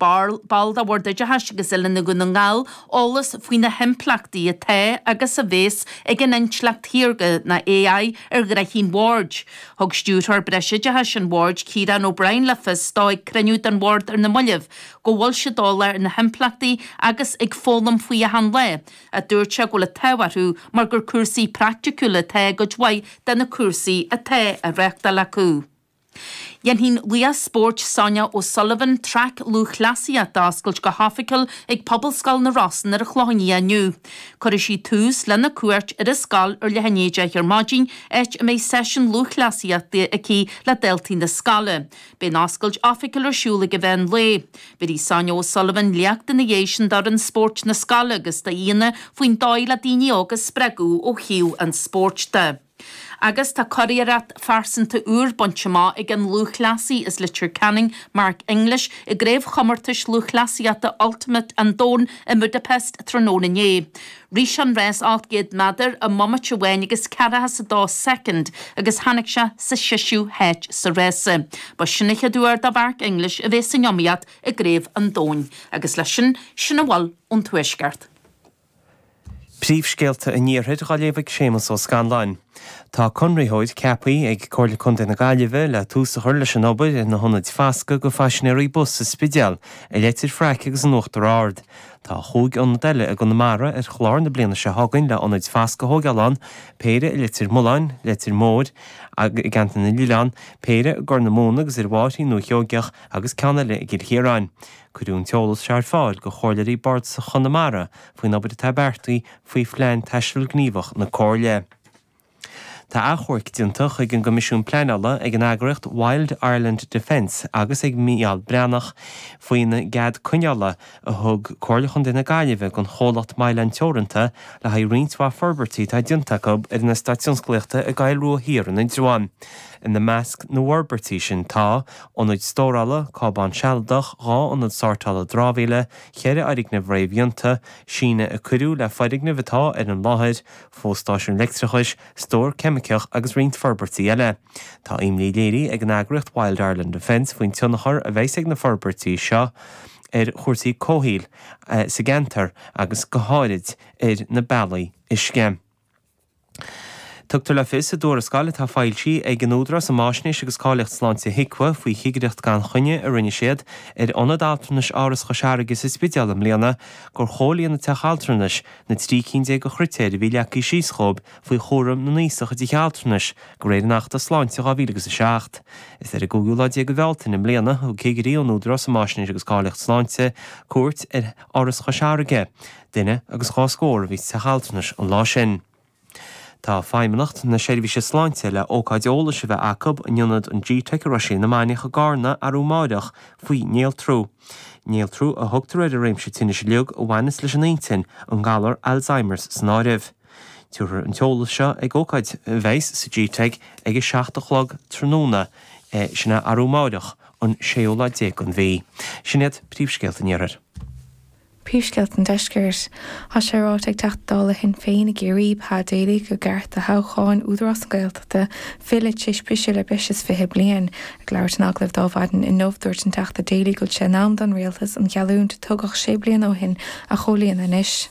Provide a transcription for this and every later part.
Ball de Bhord Oideachais agus Oiliúna Dhún na nGall eolas faoi na himpleachtaí atá agus a bhéas ag an intleacht shaorga nó AI ar ghnoithí an Bhoird. Thug Stiúrthóir Breisoideachais an Bhoird, Ciarán O'Brien le fios dó ag cruinniú den Bhord ar na mallaibh go bhfuil siad eolach ar na himpleachtaí agus ag foghlaim faoi achan lá, a dúirt sé go bhfuil an t-ádh orthu mar gur cúrsaí praiticiúla atá i gcuid mhaith de na cúrsaí atá á reáchtáil acu. Dhéanfaidh an laoch spóirt Sonia O'Sullivan traic lúthchleasaíochta a oscailt go hoifigiúil ag Pobalscoil na Rosann ar an Chlochán Liath inniu. Cuirfidh sí tús lena cuairt ar an scoil ar leath i ndiaidh 10 ar maidin, áit a mbeidh seisiún lúthchleasaíochta aici le daltaí na scoile. Beidh an oscailt oifigiúil ar siúl ag an mheán lae. Bhéarfaidh Sonia O'Sullivan léacht ina dhiaidh sin d'fhoireann spóirt na scoile agus d'aíonna faoin dóigh le daoine óga a spreagadh ó thaobh an spóirt de. Agus tá curiarracht phearsanta úr bainte amach ag an lúthchleasaí as Leitir Ceanainn, Mark English, i gCraobhchomórtais Lúthchleasaíochta Ultimate an Domhain i mBudapest tráthnóna inné. Rith sé an rás 800 méadar i mbomaite amháin agus 42 soicind agus tháinig sé sa seisiú háit sa rása. Ba sin an chéad uair do Mhark English a bheith san iomaíocht i gCraobh an Domhain. Agus leis sin, sin a bhfuil ón Tuaisceart. Príomhscéalta an Iarthair á léamh ag Séamus Ó Scanláin. Tá conraitheoir ceaptha ag Comhairle Contae na Gaillimhe le tús a chur leis an obair ar na hionaid fasctha do phaisinéirí bus sa Spidéal, i Leitir Fraic agus in Uachtar Ard. Tá chúig ionad eile i gConamara ar chlár na bliana seo chugainn le hionaid fasctha a thógáil ann, péire i Leitir Mealláin, Leitir Móir, i gCeantar na nOileán, péire i gCorr na Móna agus ar Bhóithrín Dhúiche Sheoigeach agus ceann eile i gCill Chiaráin. Cuireadh an t-eolas seo ar fáil do Chomhairleoirí Bardasacha Chonamara faoin obair atá beartaithe faoi Phlean Taistil Gníomhach na Comhairle. Tá achomharc déanta chuig an gCoimisiún Pleanála ag an eagraíocht Wild Ireland Defence agus ag Mícheál Breathnach faoin gcead coinneála a thug Comhairle Chontae na Gaillimhe don chomhlacht Mylan Teoranta le haghaidh roinnt mhaith forbairtí atá déanta acu ar an eastát tionsclaíochta i gCoill Rua Thiar in Indreabhán. Ina measc na bhforbairtí sin tá, ionaid stórála, cábán sealadach, 2 ionad sórtála dramhaíola, cheithre fhoirgneamh réamhdhéanta, síneadh a cuireadh le foirgnimh atá ar an láthair, fo-stáisiún leictreachais, stór ceimiceach agus roinnt forbairtí eile. Tá imní léirithe ag an eagraíocht Wild Ireland Defence faoin tionchar a bheas ag na forbairtí seo ar chúrsaí comhshaoil sa gceantar agus go háirid ar na bealaí uisce. Tugtar le fios i dtuarascáil atá foilsithe ag an Údarás um Fháisnéis agus Cáilíocht Sláinte, HIQA, faoi chigireacht gan choinne a rinne siad ar Ionad Altranais Áras Chois Fharraige sa Spidéal i mbliana gur chomhlíon an teach altranais na 13 cinn de chritéir a bhí leagtha síos dhóibh faoi chúram na n-aosach i dtithe altranais de réir an Achta Sláinte 2007. Is ar an gcúigiú lá déag de Bhealtaine i mbliana a thug cigirí ón Údarás um Fháisnéis agus Cáilíocht Sláinte cuairt ar Áras Chois Fharraige. Duine agus dhá scór a bhí sa teach altranais an lá sin. Tá Feidhmeannacht na Seirbhíse Sláinte le ócáid eolais a bheith acu in ionad an GTeic i Roisín na Mainiach i gCarna arú amáireach faoi néaltrú. Néaltrú a thugtar ar an réimse tinnis uilig a bhaineas leis an intinn, an galar Alzheimer's san áireamh. Tabharfar an t-eolas seo ag ócáid a bheas sa GTeic ag a 7 a chlog tráthnóna, sin é arú amáireach, an séú lá déag den mhí. Sin iad príomhscéalta an Iarthair. Príomhscéalta an Deiscirt. Tá sé ráite ag Teachta Dála Shinn Féin i gCiarraí, Pa Daly, gur ceart do thoghcháin Údarás na Gaeltachta filleadh tar éis briseadh le breis is 20 bliain. Ag labhairt in agallamh dó Adhmhaidin inniu, dúirt an Teachta Daly go bhfuil sé in am don Rialtas an gheallúint a tugadh sé bliana ó shin a chomhlíonadh anois.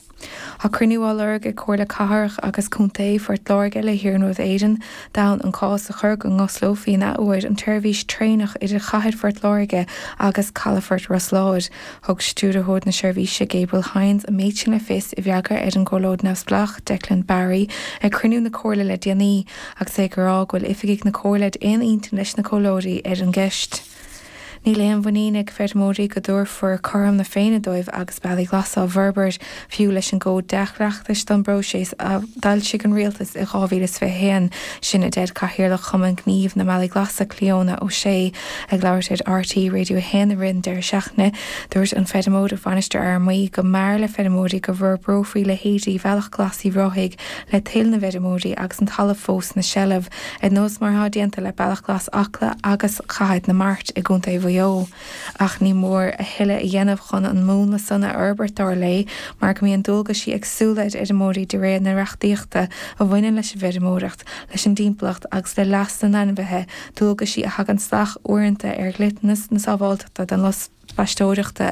Tá cruinniú á lorg ag Comhairle Cathrach agus Contae Phort Láirge le hIarnród Éireann d'fhonn an cás a chur go n-osclófaí an athuair an tseirbhís traenach idir chathair Phort Láirge agus calafort Ros Láir. Thug Stiúrthóir na seirbhíse Gabriel Hynes an méid sin le fios i bhfreagra ar an gComhairleoir Neamhspleách Declan Barry ag cruinniú na Comhairle le déanaí agus é ag rá go bhfuil oifigigh na Comhairle ar aon intinn leis na Comhairleoirí ar an gceist. Níl aon mhuinín ag feirmeoirí go dtabharfar cothrom na Féinne dóibh agus bealaí glasa á bhforbairt, fiú leis an gCód Dea-Chleachtais don bpróiseas a d'fhoilsigh an Rialtas i 2021. Sin a deir Cathaoirleach Chumann Gnímh na mBealaí Glasa, Clíona O'Shea. Ag labhairt ar RTÉ Radio 1 i rith an deireadh seachtaine, dúirt an feirmeoir ó Mhainistir Fhear Maí go mb'fhearr le feirmeoirí go bhforbrófaí leithéidí Bhealach Glas Uíbh Ráthaigh le toil na bhfeirmeoirí agus an talamh fós ina seilbh. Ar nós mar atá déanta le Bealach Glas Acla agus Chathair na Mart i gContae Mhaigh Eo. Ach ní mór a thuilleadh a dhéanamh chun an múnla san a fhorbairt dar léi mar go mbíonn dualgaisí éagsúla ar fheirmeoirí de réir na reachtaíochta a bhaineann leis an bhfeirmeoireacht, leis an dtimpeallacht agus le leas na n-ainmhithe, dualgaisí a thagann salach uaireanta ar dhliteanas na sábháilteachta don lucht spaisteoireachta.